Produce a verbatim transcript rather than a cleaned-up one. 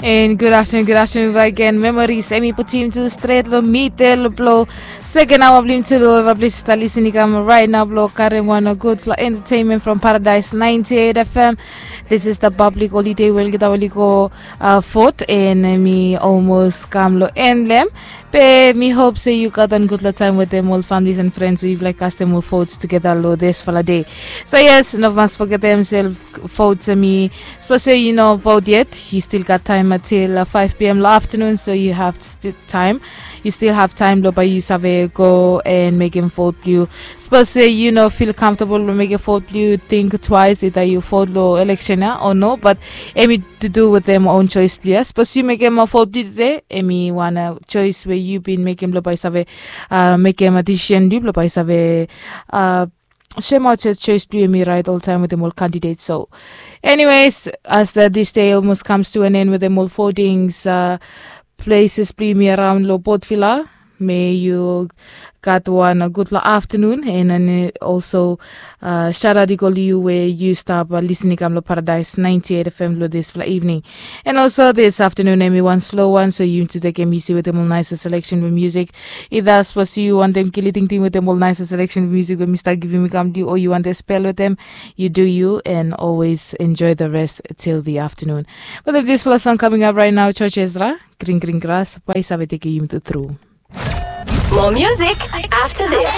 And good afternoon, good afternoon back again. Memories, emi putim tu stret lo mitel blo second hour blim tu lo eva plis ta listening kam right now blo karim wan gudfala entertainment from Paradise ninety-eight F M. This is the public holiday wel kita weli go uh, fort and mi almost kam lo end blem. Be mi hope se yu gat wan gudfala time wetem ol families and friends we yufala kastem ol votes together lo this fala day. So yes, no mas forget himself vote to me. Suppose say you know vote yet, you still got time until uh, five p.m. lo afternoon, so you have st- time. You still have time lo by you save go and make him vote blue. Suppose say you know feel comfortable lo make a vote blue, think twice either you vote lo election ya or no. But emi to do with them own choice blue. Suppose you make him a vote blue today, emi wan uh, choice where you been make him lo by save uh, make him a decision blue lo by save uh, shema choice blue emi right all time with them all candidates. So anyways, as the, this day almost comes to an end with them all foldings uh, places blue me around lo Port Villa. May you got one a good la afternoon and then uh, also uh, shout out equally you where you stop uh, listening kam lo Paradise ninety-eight F M lo this fla evening. And also this afternoon emi wan slow one, so you to take him easy with them all nice selection with music. Either suppose you want them killing thing with them all nice selection with music with Mister Giving Me Come Do or you want to spell with them, you do you and always enjoy the rest till the afternoon. But if this fla song coming up right now, Church Ezra, Green Green Grass, by Saviteki Yum to through. More music after this.